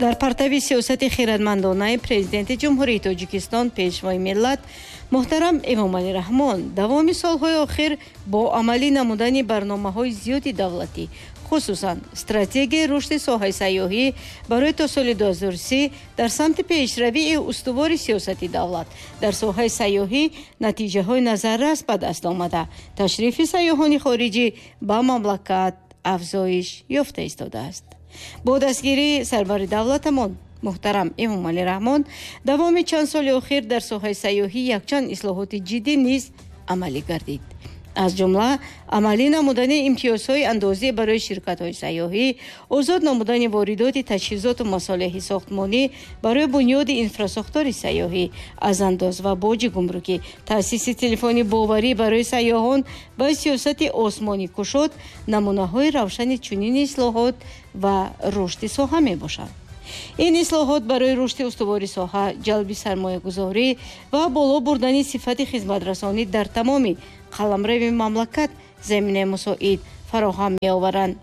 Дар партави сиёсати хирадмандонаи Президенти Ҷумҳурии Тоҷикистон, Пешвои миллат муҳтарам Эмомалӣ Раҳмон, давоми солҳои охир бо амалӣ намудани барномаҳои зиёди давлатӣ, хусусан стратегияи рушди соҳаи сайёҳӣ барои то соли 2030, дар самти пешравии устувори сиёсати давлат дар соҳаи сайёҳӣ натиҷаҳои назаррас ба даст омада, ташрифи сайёҳони хориҷӣ ба мамлакат афзоиш ёфта истодааст. Бо дастгирии сарвари давлатамон муҳтарам Эмомалӣ Раҳмон давоми чанд соли охир дар соҳаи сайёҳӣ якчанд ислоҳоти ҷиддӣ низ амалӣ гардид. Аз ҷумла амалӣ намудани имтиёзҳои андозӣ барои ширкатҳои сайёҳӣ, озод намудани воридоти таҷҳизоту масолеҳи сохтмонӣ барои бунёди инфрасохтори сайёҳӣ аз андоз ва боҷи гумрукӣ, таъсиси телефони боварӣ барои сайёҳон ва сиёсати осмонӣ кушод намунаҳои равшани чунин ислоҳот ва рушди соҳа мебошанд. Ин ислоҳот барои рушди устувори соҳа, ҷалби сармоягузорӣ ва боло бурдани сифати хизматрасонӣ дар тамоми қаламрави мамлакат заминаи мусоид фароҳам меоваранд.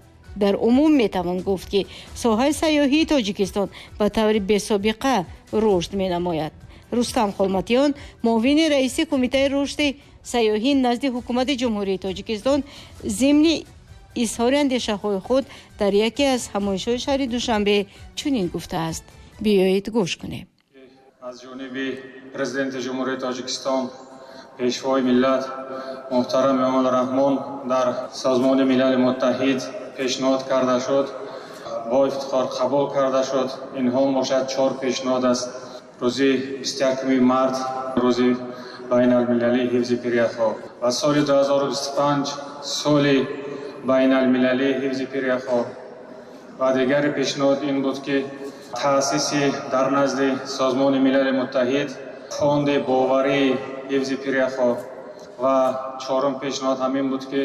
Дар умум метавон гуфт, ки соҳаи сайёҳии Тоҷикистон ба таври бесобиқа рушд менамояд. Рустам Холматиён, муовини раиси Кумитаи рушди сайёҳӣ назди Ҳукумати Ҷумҳурии Тоҷикистон, зимни изҳори андешаҳои худ дар яке аз ҳамоишҳои шаҳри Душанбе чунин гуфтааст. Биёед, гӯш кунем. Аз ҷониби Президенти Ҷумҳурии Тоҷикистон, Пешвои миллат муҳтарам Эмомалӣ Раҳмон дар Созмони Милали Муттаҳид пешниҳод карда шуд, бо ифтихор қабул карда шуд. Инҳо бошад чор пешниҳод аст. Рӯзи 21 март рӯзи байналмилалии ҳифзи пиряхҳо ва соли 2025 соли байналмилалии ҳифзи пиряхҳо. Ва дигари пешниҳод ин буд, ки таъсиси дар назди Созмони Милали Муттаҳид фонди боварии ҳифзи пиряхҳо. Ва чорум пешниҳод ҳамин буд, ки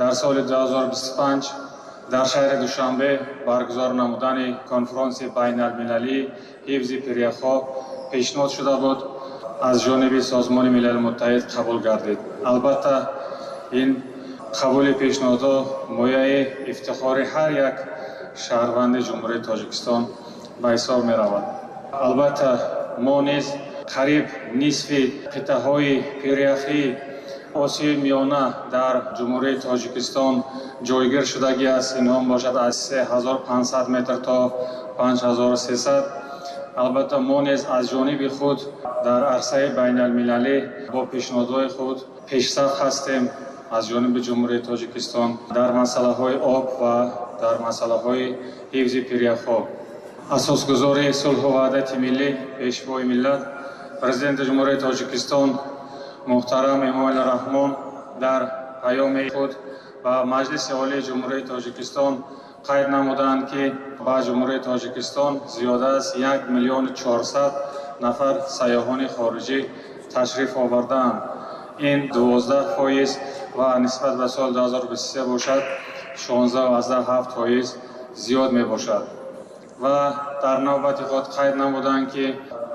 дар соли 2025 дар шаҳри Душанбе баргузор намудани конфронси байналмилалии ҳифзи пиряхҳо пешниҳод шуда буд, аз ҷониби Созмони Милали Муттаҳид қабул гардид. Албатта, ин қабули пешниҳодҳо мояи ифтихори ҳар як шаҳрванди Ҷумҳурии Тоҷикистон ба ҳисоб меравад. Албатта, мо низ қариб нисфи қитъаҳои пиряхии Осиёи Миёна дар Ҷумҳурии Тоҷикистон ҷойгир шудагӣ аст. Инҳо бошад аз 3500 метр то 5300. Албатта, мо низ аз ҷониби худ дар арсаи байналмилалӣ бо пешниҳодҳои худ пешсаф ҳастем. Аз ҷониби Ҷумҳурии Тоҷикистон дар масъалаҳои об ва дар масъалаҳои ҳифзи пиряхҳо асосгузори сулҳу ваҳдати миллӣ, Пешвои миллат, Президенти Ҷумҳурии Тоҷикистон муҳтарам Эмомалӣ Раҳмон дар паёми худ ба Маҷлиси Олии Ҷумҳурии Тоҷикистон қайд намуданд, ки ба Ҷумҳурии Тоҷикистон зиёда аз 1 400 000 нафар сайёҳони хориҷӣ ташриф овардаанд. Ин 12% ва нисбат ба соли 2023 бошад, 16,7% зиёд мебошад. Ва дар навбати худ қайд намуданд, ки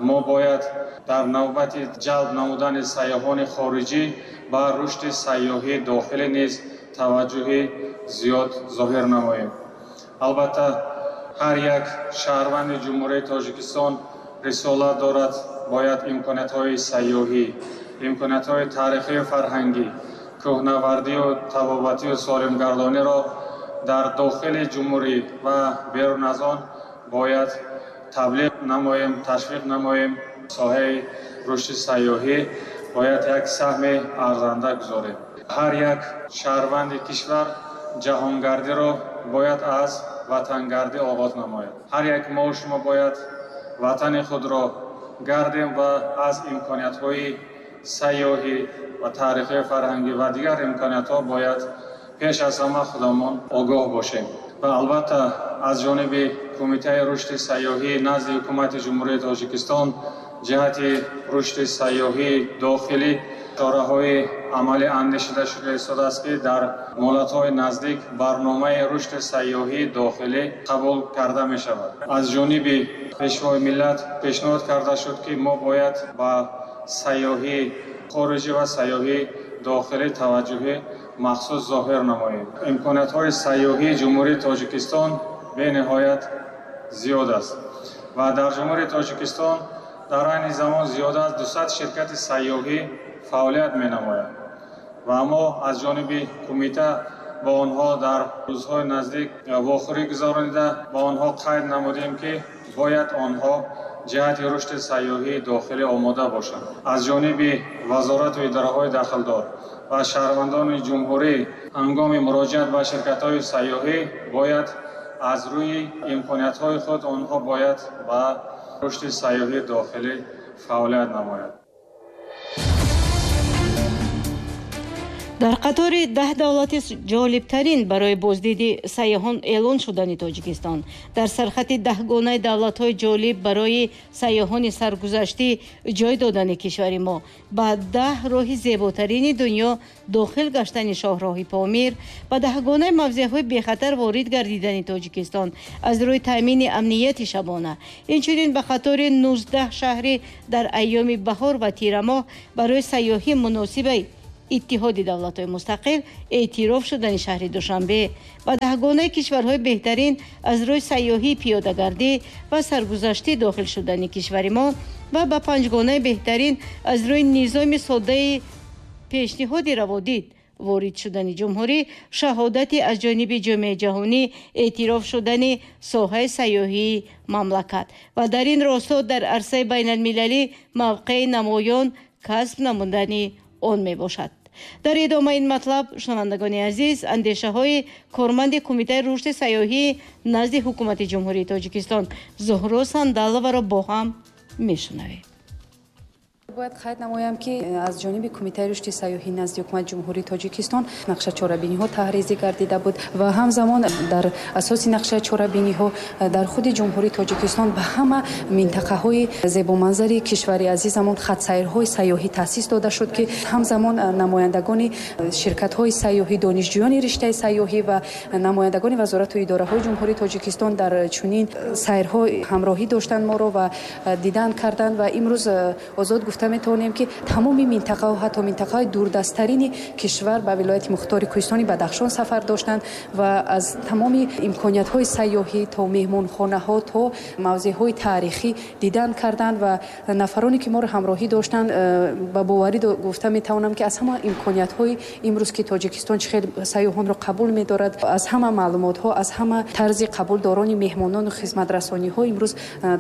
мо бояд дар навбати ҷалб намудани сайёҳони хориҷӣ ба рушди сайёҳии дохилӣ низ таваҷҷӯҳи зиёд зоҳир намоем. Албатта, ҳар як шаҳрванди Ҷумҳурии Тоҷикистон рисолат дорад, бояд имкониятҳои сайёҳӣ, имкониятҳои таърихию фарҳангӣ, кӯҳнавардию табобатию солимгардониро дар дохили ҷумҳурӣ ва берун аз он бояд таблиғ намоем, ташвиқ намоем. Соҳаи рушди сайёҳӣ бояд як саҳми арзанда гузорем. Ҳар як шаҳрванди кишвар ҷаҳонгардиро бояд аз ватангардӣ оғоз намояд. Ҳар як мо шумо бояд ватани худро гардем ва аз имкониятҳои сайёҳӣ ва таърихию фарҳангӣ ва дигар имкониятҳо бояд пеш аз ҳама худамон огоҳ бошем. Ва албатта, аз ҷониби Кумитаи рушди сайёҳӣ назди Ҳукумати Ҷумҳурии Тоҷикистон ҷиҳати рушди сайёҳии дохилӣ чораҳои амалӣ андешида шуда истодааст, ки дар муҳлатҳои наздик барномаи рушди сайёҳии дохилӣ қабул карда мешавад. Аз ҷониби Пешвои миллат пешниҳод карда шуд, ки мо бояд ба сайёҳии хориҷӣ ва сайёҳии дохилӣ таваҷҷӯҳи махсус зоҳир намоем. Имкониятҳои сайёҳии Ҷумҳурии Тоҷикистон бениҳоят зиёд аст ва дар Ҷумҳурии Тоҷикистон дар айни замон зиёда аз 200 ширкати сайёҳӣ фаъолият менамояд ва мо аз ҷониби кумита ба онҳо дар рӯзҳои наздик вохӯрӣ гузаронида ба онҳо қайд намудем, ки бояд онҳо ҷиҳати рушди сайёҳии дохилӣ омода бошанд. Аз ҷониби вазорату идораҳои дахлдор ва шаҳрвандони ҷумҳурӣ ҳангоми муроҷиат ба ширкатҳои сайёҳӣ бояд аз рӯи имкониятҳои худ онҳо бояд ба рушди сайёҳии дохилӣ фаъолият намоянд. Дар қатори 10 давлати ҷолибтарин барои боздиди сайёҳон эълон шудани Тоҷикистон, дар сархати 10гонаи давлатҳои ҷолиб барои сайёҳони саргузаштӣ ҷой додани кишвари мо, ба 10 роҳи зеботарини дунё дохил гаштани шоҳроҳи Помир, ба 10гонаи мавзеъҳои бехатар ворид гардидани Тоҷикистон аз рӯи таъмини амнияти шабона, инчунин ба қатори 19 шаҳри дар айёми баҳор ва тирамоҳ барои сайёҳӣ муносибаи Иттиҳоди давлатҳои мустақил эътироф шудани шаҳри Душанбе, ба 10гонаи кишварҳои беҳтарин аз рӯи сайёҳии пиёдагардӣ ва саргузаштӣ дохил шудани кишвари мо ва ба 5гонаи беҳтарин аз рӯи низоми содаи пешниҳоди раводид ворид шудани ҷумҳурӣ, шаҳодати аз ҷониби ҷомеаи ҷаҳонӣ эътироф шудани соҳаи сайёҳии мамлакат ва дар ин росто дар арсаи байналмилалӣ мавқеи намоён касб намудани он мебошад. Дар идомаи ин матлаб, шунавандагони азиз, андешаҳои корманди Кумитаи рушди сайёҳии назди Ҳукумати Ҷумҳурии Тоҷикистон Зуҳро Сандаловаро бо ҳам мешунавем. Бояд қайд намоям, ки аз ҷониби Кумитаи рушди сайёҳӣ назди Ҳукумати Ҷумҳурии Тоҷикистон нақша чорабиниҳо таҳризӣ гардида буд ва ҳамзамон дар асоси нақшаи чорабиниҳо дар худи Ҷумҳурии Тоҷикистон ба ҳама минтақаҳои зебоманзари кишвари азизамон хатсайрҳои сайёҳӣ таъсис дода шуд, ки ҳамзамон намояндагони ширкатҳои сайёҳӣ, донишҷӯёни риштаи сайёҳӣ ва намояндагони вазорату идораҳои Ҷумҳурии Тоҷикистон дар чунин сайрҳо ҳамроҳӣ доштанд моро ва дидан карданд ва имрӯз озод гуфта метавонем, ки тамоми минтақаҳо, ҳатто минтақаҳои дурдасттарини кишвар ба вилояти мухтори Кӯҳистони Бадахшон сафар доштанд ва аз тамоми имкониятҳои сайёҳӣ то меҳмонхонаҳо то мавзеъҳои таърихӣ дидан карданд ва нафароне ки моро ҳамроҳӣ доштанд, ба боварӣ гуфта метавонам, ки аз ҳама имкониятҳои имрӯз, ки Тоҷикистон чӣ хел сайёҳонро қабул медорад, аз ҳама маълумотҳо, аз ҳама тарзи қабулдорони меҳмонону хизматрасониҳо имрӯз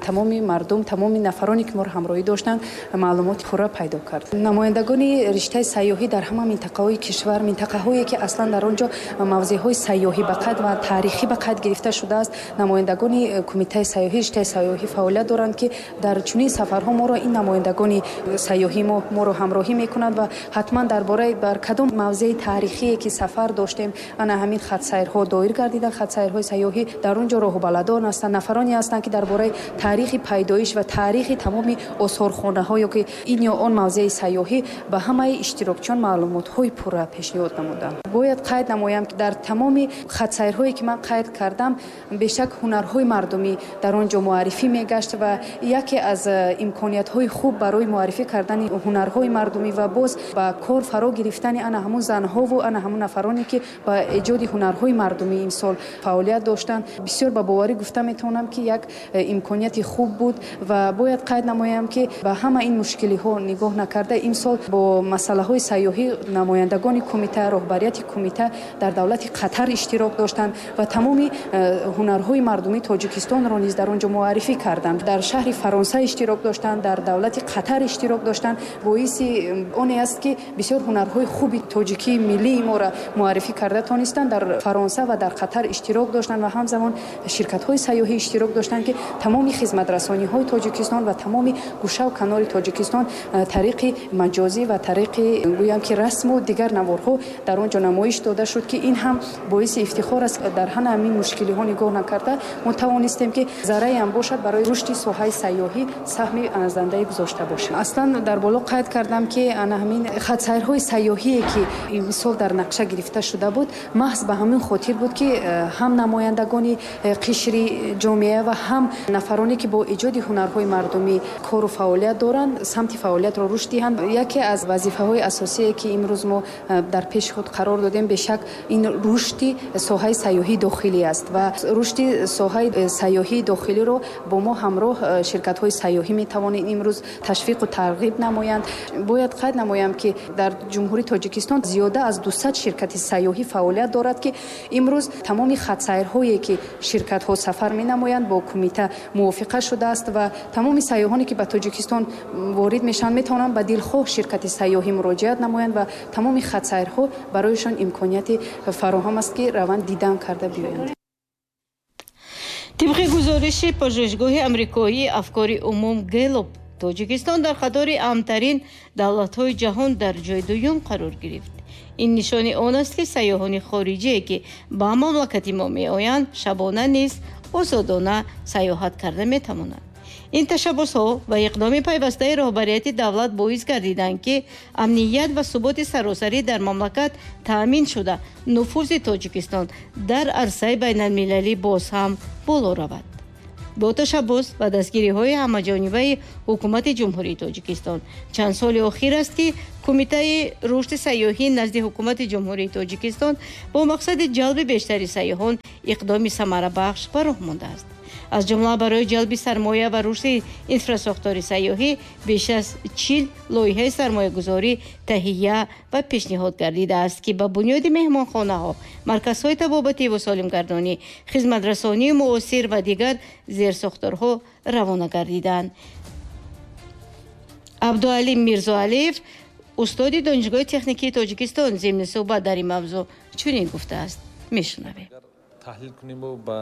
тамоми мардум, тамоми нафароне ки моро ҳамроҳӣ доштанд, маълумот пурра пайдо кард. Намояндагони риштаи сайёҳӣ дар ҳама минтақаҳои кишвар, минтақаҳое ки аслан дар он ҷо мавзеъҳои сайёҳӣ ба қайд ва таърихӣ ба қайд гирифта шудааст, намояндагони кумитаи сайёҳӣ, риштаи сайёҳӣ фаъолият доранд, ки дар чунин сафарҳо моро ин намояндагони сайёҳӣ моро ҳамроҳӣ мекунанд ва ҳатман дар бораи бар кадом мавзеи таърихие ки сафар доштем, ана ҳамин хатсайрҳо доир гардидан, хатсайрҳои сайёҳӣ дар он ҷо роҳбаладон ҳастанд, нафароне ҳастанд, ки дар бораи таърихи пайдоиш ва таърихи тамоми осорхонаҳо ё ки ин ё он мавзеи сайёҳӣ ба ҳамаи иштирокчиён маълумотҳои пурра пешниҳод намуданд. Бояд қайд намоям, ки дар тамоми хатсайрҳое ки ман қайд кардам, бешак ҳунарҳои мардумӣ дар он ҷо муаррифӣ мегашт ва яке аз имкониятҳои хуб барои муаррифӣ кардани ҳунарҳои мардумӣ ва боз ба кор фаро гирифтани ана ҳамун занҳову ана ҳамун нафароне, ки ба эҷоди ҳунарҳои мардумӣ имсол фаъолият доштанд, бисёр ба боварӣ гуфта метавонам, ки як имконияти хуб буд ва бояд қайд намоям, ки ба ҳама ин мушкилиҳо нигоҳ накарда, имсол бо масъалаҳои сайёҳӣ намояндагони кумита, роҳбарияти кумита дар давлати Қатар иштирок доштанд ва тамоми ҳунарҳои мардумии Тоҷикистонро низ дар он ҷо муаррифӣ карданд. Дар шаҳри Фаронса иштирок доштанд, дар давлати Қатар иштирок доштанд. Боиси оне аст, ки бисёр ҳунарҳои хуби тоҷикии миллии моро муаррифӣ карда тонистанд. Дар Фаронса ва дар Қатар иштирок доштанд ва ҳамзамон ширкатҳои сайёҳӣ иштирок доштанд, ки тамоми хизматрасониҳои Тоҷикистон ва тамоми гӯшаву канори Тоҷикистон тариқи маҷозӣ ва тариқи гӯям ки расму дигар наворҳо дар он ҷо намоиш дода шуд, ки ин ҳам боиси ифтихор аст. Дар ҳама ҳамин мушкилиҳо нигоҳ накарда, мо тавонистем, ки зарраеам бошад барои рушди соҳаи сайёҳӣ саҳми арзандае гузошта бошем. Аслан дар боло қайд кардам, ки ана ҳамин хатсайрҳои сайёҳие, ки имсол дар нақша гирифта шуда буд, маҳз ба ҳамин хотир буд, ки ҳам намояндагони қишри ҷомеа ва ҳам нафароне, ки бо эҷоди ҳунарҳои мардумӣ кору фаъолият доранд, самти Самти фаъолиятро рушд диҳанд. Яке аз вазифаҳои асосие, ки имрӯз мо дар пеши худ қарор додем, бешак ин рушди соҳаи сайёҳии дохилӣ аст ва рушди соҳаи сайёҳии дохилиро бо мо ҳамроҳ ширкатҳои сайёҳӣ метавонанд имрӯз ташвиқу тарғиб намоянд. Бояд қайд намоям, ки дар Ҷумҳурии Тоҷикистон зиёда аз 200 ширкати сайёҳӣ фаъолият дорад, ки имрӯз тамоми хатсайрҳое, ки ширкатҳо сафар менамоянд, бо кумита мувофиқа шудааст ва тамоми сайёҳоне, ки ба Тоҷикистон ворид мешаванд, метавонанд ба дилхоҳ ширкати сайёҳӣ муроҷиат намоянд ва тамоми хатсайрҳо барояшон имконияти фароҳам аст, ки раванд, дидан карда биёянд. Тибқи гузориши пажӯҳишгоҳи амрикоии афкори умум Гэллоп, Тоҷикистон дар қатори амнтарин давлатҳои ҷаҳон дар ҷои дуюм қарор гирифт. Ин нишони он аст, ки сайёҳони хориҷие, ки ба мамлакати мо меоянд, шабона низ озодона сайёҳат карда метавонанд. Ин ташаббусҳо ва иқдоми пайвастаи роҳбарияти давлат боис гардиданд, ки амният ва суботи саросарӣ дар мамлакат таъмин шуда, нуфузи Тоҷикистон дар арсаи байналмилалӣ боз ҳам боло равад. Бо ташаббус ва дастгириҳои ҳамаҷонибаи Ҳукумати Ҷумҳурии Тоҷикистон чанд соли охир аст, ки Кумитаи рушди сайёҳӣ назди Ҳукумати Ҷумҳурии Тоҷикистон бо мақсади ҷалби бештари сайёҳон иқдоми самарабахш ба роҳ мондааст. Аз ҷумла барои ҷалби сармоя ва рушди инфрасохтори сайёҳӣ беш аз 40 лоиҳаи сармоягузорӣ таҳия ва пешниҳод гардидааст, ки ба бунёди меҳмонхонаҳо, марказҳои табобативу солимгардонӣ, хизматрасонии муосир ва дигар зерсохторҳо равона гардиданд. Абдуалим Мирзоалиев, устоди Донишгоҳи техникии Тоҷикистон, зимни суҳбат дар ин мавзӯъ чунин гуфтааст. Мешунавем. Таҳлил куниму ба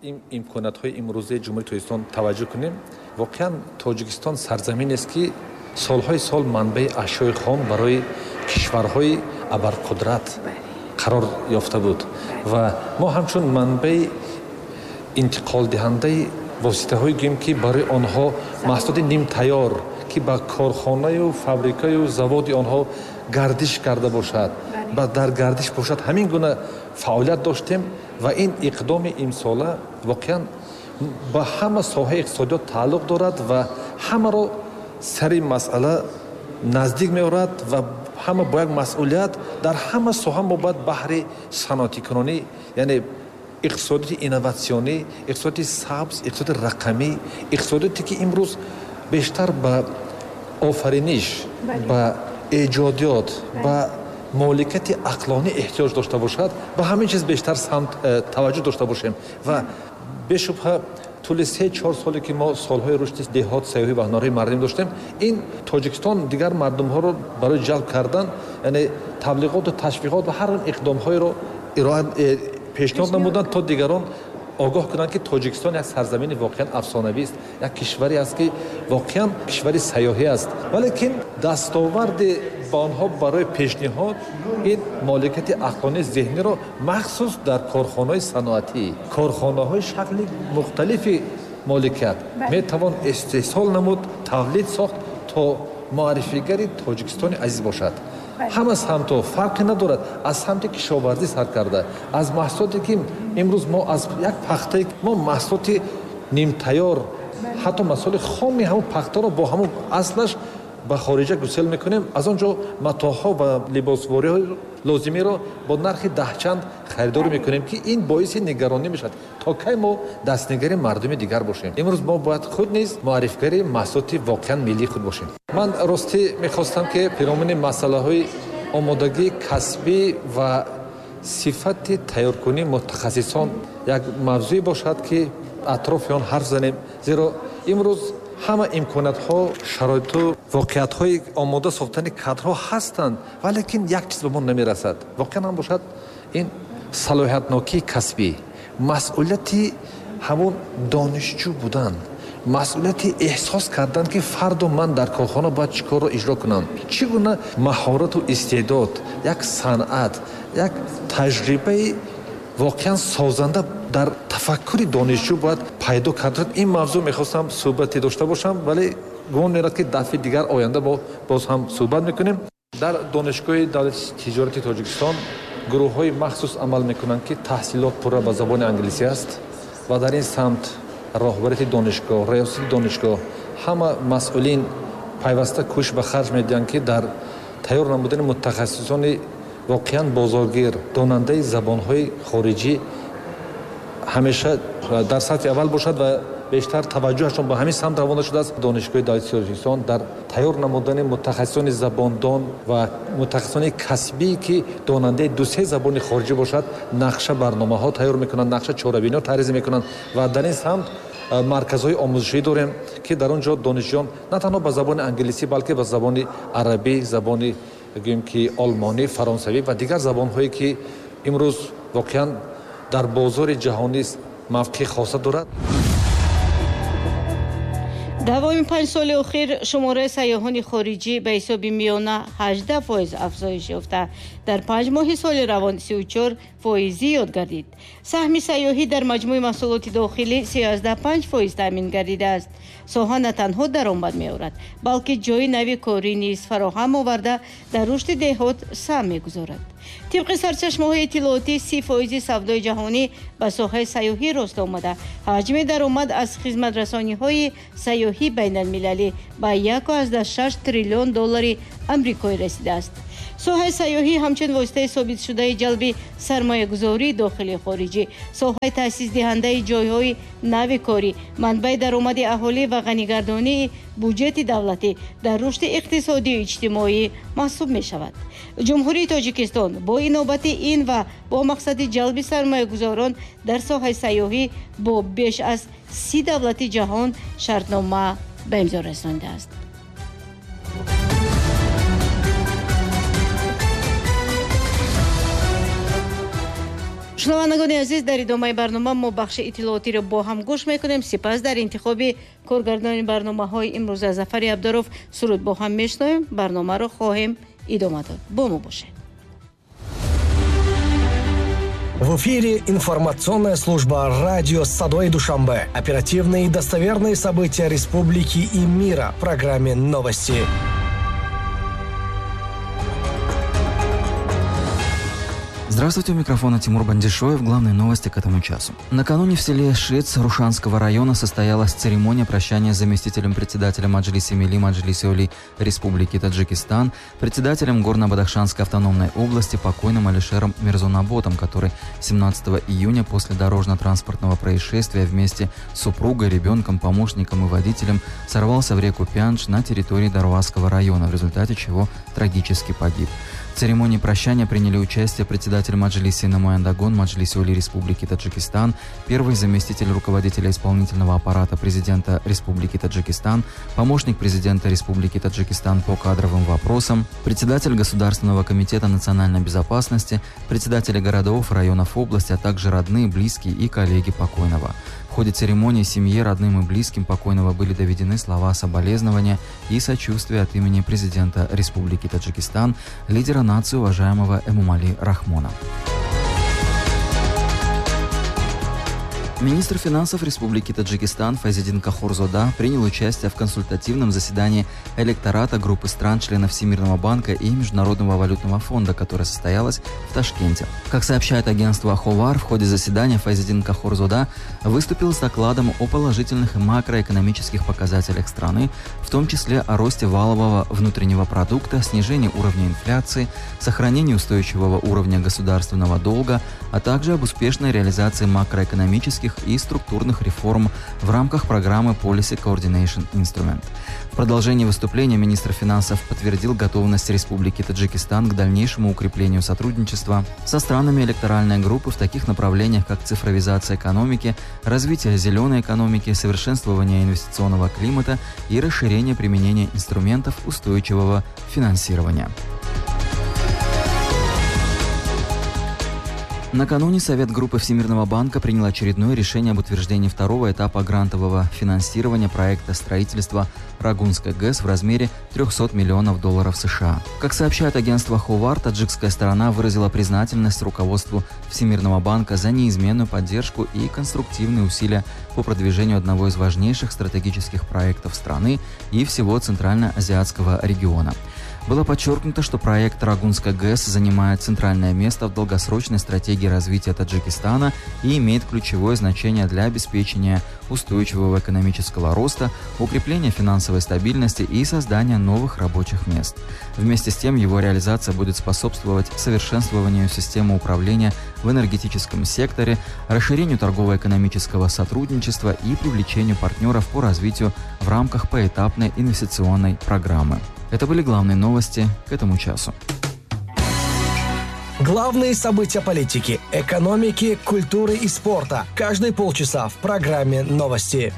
ин имкониятҳои имрӯзаи Ҷумҳурии Тоҷикистон таваҷҷӯҳ кунем, воқеан Тоҷикистон сарзаминест, ки солҳои сол манбаи ашёи хом барои кишварҳои абарқудрат қарор ёфта буд ва мо ҳамчун манбаи интиқолдиҳандаи воситаҳое гӯем, ки барои онҳо маҳсулоти нимтайёр, ки ба корхонаю фабрикаю заводи онҳо гардиш карда бошад ва дар гардиш бошад, ҳамин гуна фаъолият доштем. Ва ин иқдоми имсола воқеан ба ҳама соҳаи иқтисодиёт тааллуқ дорад ва ҳамаро сари масъала наздик меорад ва ҳама бо як масъулият дар ҳама соҳа мо бояд баҳри саноатикунонӣ, яъне иқтисодиёти инноватсионӣ, иқтисодиёти сабз, иқтисодиёти рақамӣ, иқтисодиёте, ки имрӯз бештар ба офариниш, ба эҷодиёт, ба моликияти ақлонӣ эҳтиёҷ дошта бошад, ба ҳамин чиз бештар самт таваҷҷӯҳ дошта бошем. Ва бешубҳа, тӯли 3-4 соле, ки мо солҳои рушди деҳот, сайёҳӣ ва ҳунарҳои мардумӣ доштем, ин Тоҷикистон дигар мардумҳоро барои ҷалб кардан, яъне таблиғоту ташвиқот ва ҳар иқдомҳоеро ироа пешниҳод намуданд, то дигарон огоҳ кунанд, ки Тоҷикистон як сарзамини воқеан афсонавист, як кишваре аст, ки воқеан кишвари сайёҳӣ аст. Валекин дастоварди ба онҳо барои пешниҳод ин моликияти ақлонии зеҳниро махсус дар корхонаҳои саноатӣ, корхонаҳои шакли мухталифи моликият метавон истеҳсол намуд, тавлид сохт, то муаррифигари Тоҷикистони азиз бошад. Ҳама самтҳо фарқе надорад, аз самти кишоварзӣ сар карда, аз маҳсулоте, ки имрӯз мо аз як пахтае мо маҳсулоти нимтайёр, ҳатто маҳсулоти хоми ҳамон пахтаро бо ҳамон аслаш ба хориҷа гусел мекунем, аз он ҷо матоъҳо ва либосвориҳои лозимиро бо нархи даҳчанд харидорӣ мекунем, ки ин боиси нигаронӣ мешавад. То кай мо дастнигари мардуми дигар бошем? Имрӯз мо бояд худ низ муаррифгари маҳсулоти воқеан миллии худ бошем. Ман ростӣ мехостам, ки пиромуни масъалаҳои омодагии касбӣ ва сифати тайёркунии мутахассисон як мавзӯе бошад, ки атрофи он ҳарф занем, зеро имрӯз ҳама имкониятҳо, шароиту воқеиятҳои омода сохтани кадрҳо ҳастанд, валекин як чиз ба мо намерасад. Воқеан ҳам бошад, ин салоҳиятнокии касбӣ, масъулияти ҳамон донишҷӯ будан, масъулияти эҳсос кардан, ки фардо ман дар корхона бояд чӣ корро иҷро кунам, чӣ гуна маҳорату истеъдод, як санъат, як таҷрибаи воқеан созанда дар тафаккури донишҷӯ бояд пайдо кард. Ин мавзӯъ мехостам суҳбате дошта бошам, вале гумон мерад, ки дафъи дигар оянда мо боз ҳам суҳбат мекунем. Дар Донишгоҳи давлати тиҷорати Тоҷикистон гурӯҳҳои махсус амал мекунанд, ки таҳсилот пурра ба забони англисӣ аст ва дар ин самт роҳбарияти донишгоҳ, риёсати донишгоҳ, ҳама масъулин Пайваста кӯшиш ба харҷ медиҳанд, ки дар тайёр намудани мутахассисони воқеан бозоргир, донандаи забонҳои хориҷӣ ҳамеша дар сатҳи аввал бошад ва бештар таваҷҷӯҳашон ба ҳамин самт равона шудааст. Донишгоҳи давлатии Тоҷикистон дар тайёр намудани мутахассисони забондон ва мутахассисони касбӣ, ки донандаи ду-се забони хориҷӣ бошад, нақша барномаҳо тайёр мекунанд, нақша чорабиниҳо таҳрир мекунанд ва дар ин самт марказҳои омӯзишӣ дорем, ки дар он ҷо донишҷӯён на танҳо ба забони англисӣ, балки ба забони арабӣ, забони гӯем ки олмонӣ, фаронсавӣ ва дигар забонҳое, ки имрӯз воқеан дар бозори ҷаҳонӣ мавқеи хоса дорад. Давоми 5 соли охир шумораи сайёҳони хориҷӣ ба ҳисоби миёна 18% афзоиш ёфта, дар 5 моҳи соли равон 34% зиёд гардид. Саҳми сайёҳӣ дар маҷмӯи маҳсулоти дохилӣ 35% таъмин гардидааст. Соҳа на танҳо даромад меорад, балки ҷойи нави корӣ низ фароҳам оварда, дар рушди деҳот саҳм мегузорад. Тибқи сарчашмаҳои иттилоотӣ, 30% савдои ҷаҳонӣ ба соҳаи сайёҳӣ рост омада, ҳаҷми даромад аз хизматрасониҳои сайёҳӣ байналмилалӣ ба 1,6 триллион доллари амрикоӣ расидааст. Соҳаи сайёҳӣ ҳамчун воситаи собитшудаи ҷалби сармоягузории дохилии хориҷӣ, соҳаи таъсисдиҳандаи ҷойҳои нави корӣ, манбаи даромади аҳолӣ ва ғанигардонии буҷети давлатӣ дар рушди иқтисодию иҷтимоӣ маҳсуб мешавад. Ҷумҳурии Тоҷикистон бо инобати ин ва бо мақсади ҷалби сармоягузорон дар соҳаи сайёҳӣ бо беш аз 30 давлати ҷаҳон шартнома ба имзо расондааст. Шунавандагони азиз, дар идомаи барнома мо бахши иттилоотиро бо ҳам гӯш мекунем. Сипас дар интихоби коргардони барномаҳои имрӯза Зафари Абдуров суруд бо ҳам мешунавем. Барномаро хоҳем идома дод. Бо мо бошед. В эфире информационная служба радио «Садои Душанбе». Оперативные и достоверные события республики и мира в программе «Новости». Здравствуйте, у микрофона Тимур Бандишоев. Главные новости к этому часу. Накануне в селе Шиц Рушанского района состоялась церемония прощания с заместителем председателя Маджлиса Мили Маджлиса Оли Республики Таджикистан, председателем Горно-Бадахшанской автономной области покойным Алишером Мирзонаботом, который 17 июня после дорожно-транспортного происшествия вместе с супругой, ребенком, помощником и водителем сорвался в реку Пяндж на территории Дарвазского района, в результате чего трагически погиб. В церемонии прощания приняли участие председатель Маджлиса Намояндагон Маджлиса Оли Республики Таджикистан, первый заместитель руководителя исполнительного аппарата президента Республики Таджикистан, помощник президента Республики Таджикистан по кадровым вопросам, председатель Государственного комитета национальной безопасности, председатели городов, районов области, а также родные, близкие и коллеги покойного. В ходе церемонии семье, родным и близким покойного были доведены слова соболезнования и сочувствия от имени президента Республики Таджикистан, лидера нации уважаемого Эмомали Рахмона. Министр финансов Республики Таджикистан Файзиддин Кахорзода принял участие в консультативном заседании электората группы стран-членов Всемирного банка и Международного валютного фонда, которое состоялось в Ташкенте. Как сообщает агентство Ховар, в ходе заседания Файзиддин Кахорзода выступил с докладом о положительных макроэкономических показателях страны, в том числе о росте валового внутреннего продукта, снижении уровня инфляции, сохранении устойчивого уровня государственного долга, а также об успешной реализации макроэкономических и структурных реформ в рамках программы Policy Coordination Instrument. В продолжении выступления министр финансов подтвердил готовность Республики Таджикистан к дальнейшему укреплению сотрудничества со странами электоральной группы в таких направлениях, как цифровизация экономики, развитие зеленой экономики, совершенствование инвестиционного климата и расширение применения инструментов устойчивого финансирования. Накануне Совет группы Всемирного банка принял очередное решение об утверждении второго этапа грантового финансирования проекта строительства Рогунской ГЭС в размере $300 миллионов США. Как сообщает агентство Ховар, таджикская сторона выразила признательность руководству Всемирного банка за неизменную поддержку и конструктивные усилия по продвижению одного из важнейших стратегических проектов страны и всего Центральноазиатского региона. Было подчеркнуто, что проект Рогунской ГЭС занимает центральное место в долгосрочной стратегии развития Таджикистана и имеет ключевое значение для обеспечения устойчивого экономического роста, укрепления финансовой стабильности и создания новых рабочих мест. Вместе с тем, его реализация будет способствовать совершенствованию системы управления в энергетическом секторе, расширению торгово-экономического сотрудничества и привлечению партнеров по развитию в рамках поэтапной инвестиционной программы. Это были главные новости к этому часу. Главные события политики, экономики, культуры и спорта. Каждые полчаса в программе «Новости».